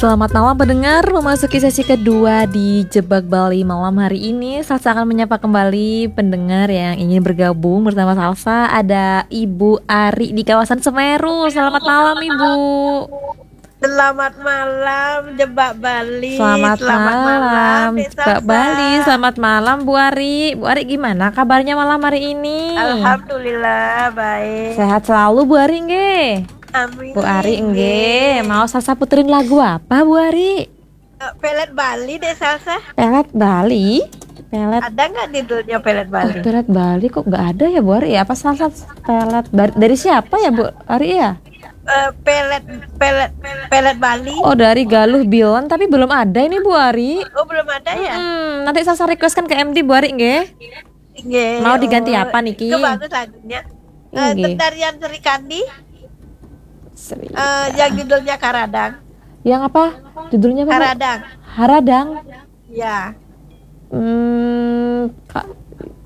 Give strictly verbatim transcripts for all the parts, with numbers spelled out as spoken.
Selamat malam pendengar, memasuki sesi kedua di Jebak Bali malam hari ini. Salsa akan menyapa kembali pendengar yang ingin bergabung bersama Salsa. Ada Ibu Ari di kawasan Semeru. Selamat malam, Ibu. Selamat malam, Jebak Bali. Selamat malam, Jebak Bali. Selamat malam, Bu Ari. Bu Ari, gimana kabarnya malam hari ini? Alhamdulillah, baik. Sehat selalu, Bu Ari, nggih. Amin. Bu Ari, nggih. Mau Salsa puterin lagu apa, Bu Ari? Eh, Pelet Bali deh, Salsa. Pelet Bali? Pelet Ada nggak judulnya Pelet Oh, Bali? pelet Bali kok nggak ada ya, Bu Ari? Ya, apa Salsa pelet Bar- dari siapa ya, Bu Ari, ya? Eh, pelet, pelet, pelet Bali. Oh, dari Galuh Bilen, tapi belum ada ini, Bu Ari. Oh, belum ada ya? Hmm, nanti Salsa requestkan ke M D, Bu Ari, nggih. Nggih. Mau diganti Oh, apa niki? Itu bagus lagunya. Eh, Nggih. Tarian Sri Kandi, Sri. eh, yang judulnya Karadang. Yang apa? Judulnya apa, Bu? Karadang. Haradang. Ya. Hmm, Kak,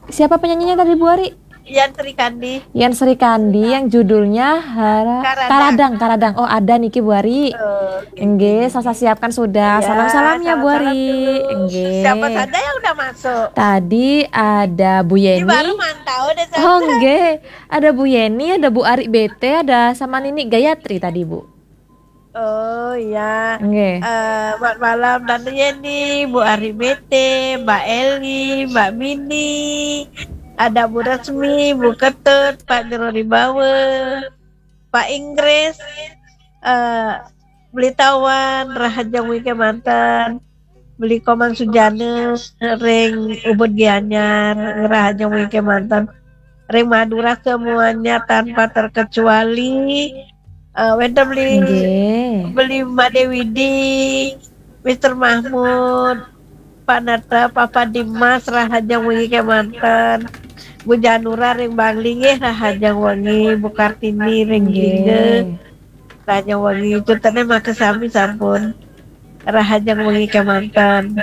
siapa penyanyinya tadi, Bu Ari? Yan Sri Kandi. Yan Sri Kandi, yang judulnya Hara- Karadang. Karadang, Karadang. Oh, ada niki, Bu Ari. Oh, Nggih, Salsa siapkan sudah. Ya, Salam-salamnya, Bu salam-salam Ari. dulu. Nggih. Siapa saja yang udah masuk? Tadi ada Bu Ini Yeni. Baru mantau deh, Salsa. Oh, nggih. Ada Bu Yeni, ada Bu Ari B T, ada sama Nini Gayatri tadi, Bu. Oh, iya. Nggih. Eh, selamat malam, Tante Yeni, Bu Ari B T, Mbak Eli, Mbak Mini, ada Bu Resmi, Bu Ketut, Pak Jero Ribawa, Pak Inggris, eh, Beli Tawan, Rahajeng Wike Manten, Beli Komang Sujana, Ring Ubud Gianyar, Rahajeng Wike Manten, Ring Madura semuanya tanpa terkecuali, eh, wenten Beli Nggih. Beli Mbak Dewi Di, Mister Mahmud, Pak Nata, Papa Dimas, Rahajeng Wengi kemanten, Bu Janura ring Bangli nggih, Rahajeng Wengi, Bu Kartini ring Jingga, Nggih. Rahajeng Wengi, tutene makasami sampun. Rahajeng Wengi kemanten.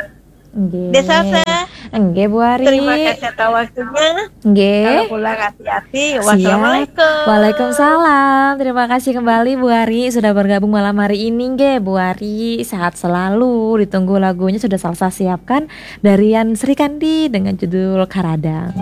Nggih. Desa saya. Nggih, Bu Ari. Terima kasih atas waktunya. Nggih. Kalau pulang hati-hati. Siap. Wassalamualaikum. Waalaikumsalam. Terima kasih kembali, Bu Ari, sudah bergabung malam hari ini, nggih, Bu Ari. Sehat selalu. Ditunggu lagunya sudah Salsa siapkan dari Yan Srikandi dengan judul Karadang.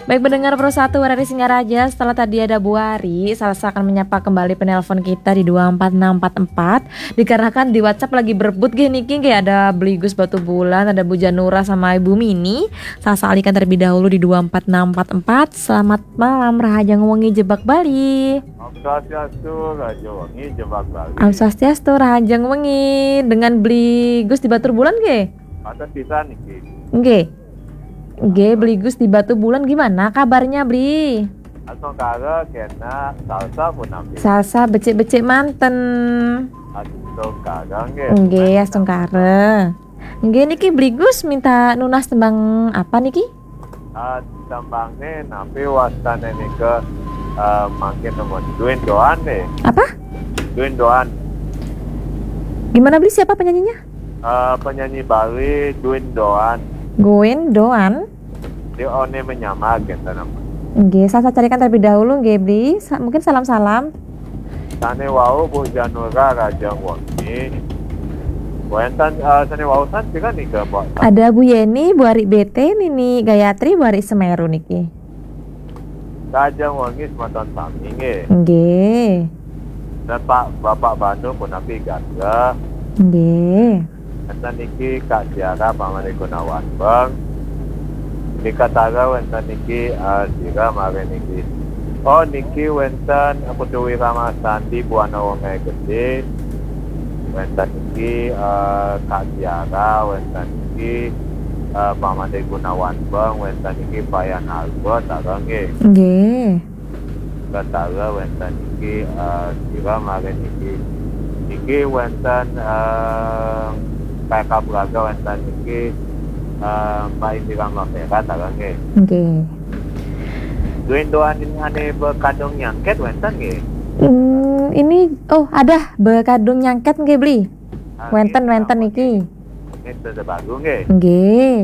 Baik, pendengar Pro satu R R I Singaraja, setelah tadi ada Bu Ari, Salsa akan menyapa kembali penelpon kita di dua empat enam empat empat. Dikarenakan di WhatsApp lagi berebut nggih niki, nggih, ada Beli Gus Batubulan, ada Bu Janura sama Ibu Mini. Salsa alihkan terlebih dahulu di dua empat enam empat empat. Selamat malam, Rahajeng Wengi Jebak Bali. Om Swastiastu, Rahajeng Wengi Jebak Bali. Om Swastiastu, Rahajeng Wengi. Dengan Beli Gus di Batubulan nggih? Mata pisan niki. Nggih. Nggih, Beli Gus di Batubulan, gimana kabarnya, Beli? Astungkara, kena, Salsa pun ambil. Salsa becik-becik manten. Astungkara nggih. Nggih, astungkara. Nggih, niki Beli Gus minta nunas tembang apa niki? Ah, tembangne napi wastane nika, eh, mangkin nemen Duin Doan nih. Apa? Duin Doan. Gimana, Beli? Siapa penyanyinya? Eh, penyanyi Bali Duin Doan. Duin Doan. Di One Menyamar gitu nama. Nggih, Salsa carikan terlebih dahulu nggih, Beli. Sa- mungkin salam-salam. Sane wau Bu Janura, Rahajeng Wengi. Wenten, eh, sane wau san juga nika, Mbok. Ada Bu Yeni, Bu Ari B T, Nini Gayatri, Bu Ari Semeru niki. Rahajeng Wengi semeton sami nggih. Nggih. Dan Pak Bapak Bandung punapi gatra. Nggih. Wenten niki Kak Tiara, Pak Made Gunawan Beng. Nika tara wenten niki, eh, sira mare niki. Oh, niki wenten Putu Wira Masandi, Buana Wonge Gede. Wenten niki, eh, Kak Tiara, wenten niki, eh, Pak Made Gunawan Beng, wenten niki Payan Albert, tara nggih. Nggih. Betara wenten niki, eh, sira mare niki. Niki wenten, eh, P K Braga, wenten niki, eh, Mbak Indira Mafera, tara nggih. Nggih. Duin Doan ini ane bekadung nyangket wenten nggih. Hmm, ini, oh, ada bekadung nyangket nggih, Beli. Ah, Wenten, nggih, wenten sama niki. Ini sudah bagus nggih. Nggih.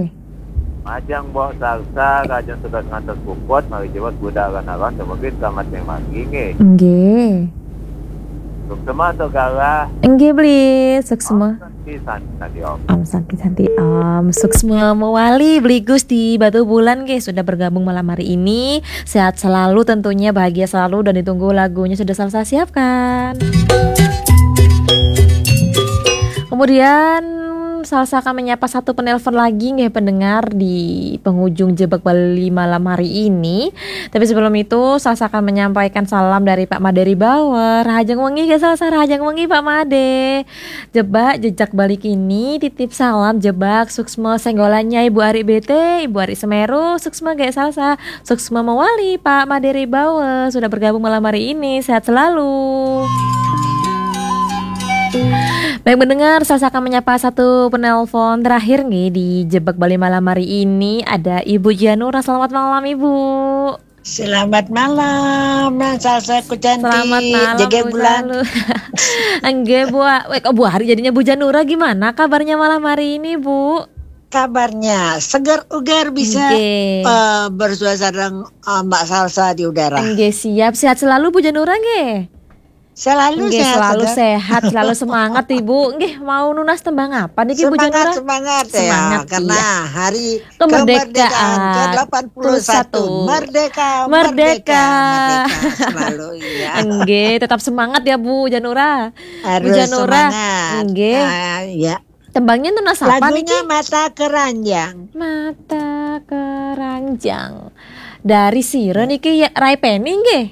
Majang bawa salsa, kajang sedot ngantos puput, mari jebos budak aran-aran, semoga selamat yang manggi nggih. Nggih. Suksma Saudara. Nggih, Bli, suksma. Santi Santi Om. Om Santi Santi Om. Suksma mawali Bli Gus di Batubulan nggih sudah bergabung malam hari ini. Sehat selalu tentunya, bahagia selalu dan ditunggu lagunya sudah Salsa siapkan. Kemudian Salsa akan menyapa satu penelpon lagi nggih pendengar di penghujung Jebak Bali malam hari ini. Tapi sebelum itu Salsa akan menyampaikan salam dari Pak Made Ribawa. Rahajeng wengi nggih Salsa, rahajeng wengi Pak Made. Jebak Jejak Bali kini titip salam Jebak, suksma senggolannya Ibu Ari B T, Ibu Ari Semeru, suksma nggih Salsa, suksma mawali Pak Made Ribawa sudah bergabung malam hari ini. Sehat selalu. Baik mendengar, Salsa akan menyapa satu penelpon terakhir nih di Jebak Bali malam hari ini. Ada Ibu Janura. Selamat malam Ibu. Selamat malam, Salsa ku cantik. Selamat malam Jaga Bu bulan. Salu. Enggak Bu. Eh, kok Bu Hari jadinya Bu Janura, gimana kabarnya malam hari ini Bu? Kabarnya segar ugar bisa Nggih. eh, bersuasana eh, Mbak Salsa di udara. Enggak, siap, sehat selalu Bu Janura nggih. Selalu Nggih, sehat, selalu segar. Sehat, selalu semangat Ibu. Nggih, mau nunas tembang apa niki Bu Semangat, Janura? Semangat ya, Semangat, karena iya. hari Kemerdekaan kemerdekaan ke delapan puluh satu. satu. Merdeka, Merdeka. Merdeka selalu ya. Enggak, tetap semangat ya Bu Janura. Harus Bu Janura. Semangat. Enggak. Ah, ya. Tembangnya nunas apa Lagunya niki? Mata Keranjang. Mata Keranjang. Dari sira niki ya, Rai Peni nggih.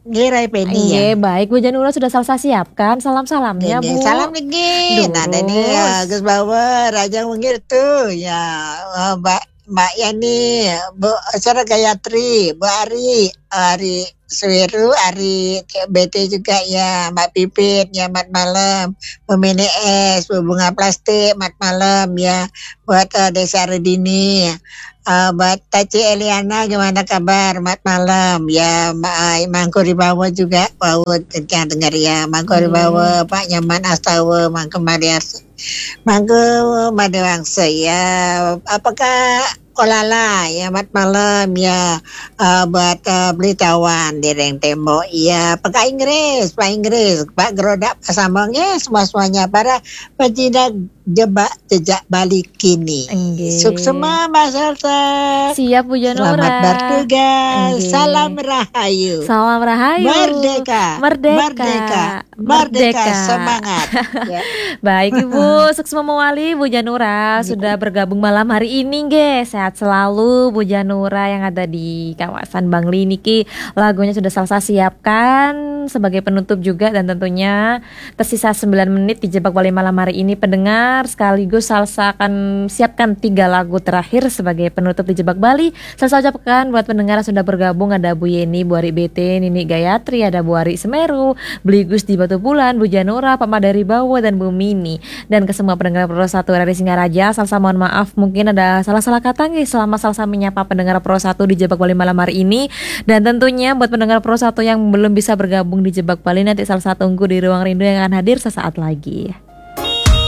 Nggih, Rai Peni ya. Nggih, baik Bu Janura sudah Salsa siapkan salam-salamnya Nggih, Bu. salam nggih. Nah, tadi Durus. ya, Gus Bawa, Raja Mungkir tuh ya, eh, Mbak Mbak Yani, Bu Sarah Gayatri, Bu Ari, Ari Suwiru, Ari B T juga ya, Mbak Pipit ya, mat malam, Bu Mini Es, Bu Bunga Plastik, mat malam ya, buat eh, Desa Redini, eh, buat Taci Eliana, gimana kabar, mat malam ya, Ma- eh, Mangku Ribawa juga, Paut, yang dengar ya, Mangku Iya. Ribawa, Pak Nyaman Astawa, Mangku Marias, Mangku Madewangsa ya, apakah Kolala ya, mat malam ya, eh, buat eh, Belitawan di Reng Tembok ya, Pak Inggris, Pak Inggris, Pak Gerodak, Pak Sambang ya, semua semuanya para pecinta Jebak Jejak Bali kini. Enggih. Suksema Mbak Salsa. Siap Bu Janura. Selamat bertugas. Enggih. Salam Rahayu. Salam Rahayu. Merdeka. Merdeka. Merdeka. Merdeka. Semangat. Ya. Baik Ibu, suksma mawali Bu Janura sudah bergabung malam hari ini nggih. Sehat selalu Bu Janura yang ada di kawasan Bangli niki. Lagunya sudah Salsa siapkan sebagai penutup juga dan tentunya tersisa sembilan menit di Jebak Bali malam hari ini pendengar, sekaligus Salsa akan siapkan tiga lagu terakhir sebagai penutup di Jebak Bali. Salsa ucapkan buat pendengar yang sudah bergabung, ada Bu Yeni, Bu Ari B T, Nini Gayatri, ada Bu Ari Semeru, Beligus di Batubulan, Bu Janura, Pak Madari Bawa, dan Bu Mini. Dan ke semua pendengar Pro Satu R R I Singaraja, Salsa mohon maaf mungkin ada salah-salah kata nggih selama Salsa menyapa pendengar Pro Satu di Jebak Bali malam hari ini. Dan tentunya buat pendengar Pro Satu yang belum bisa bergabung di Jebak Bali, nanti Salsa tunggu di ruang rindu yang akan hadir sesaat lagi.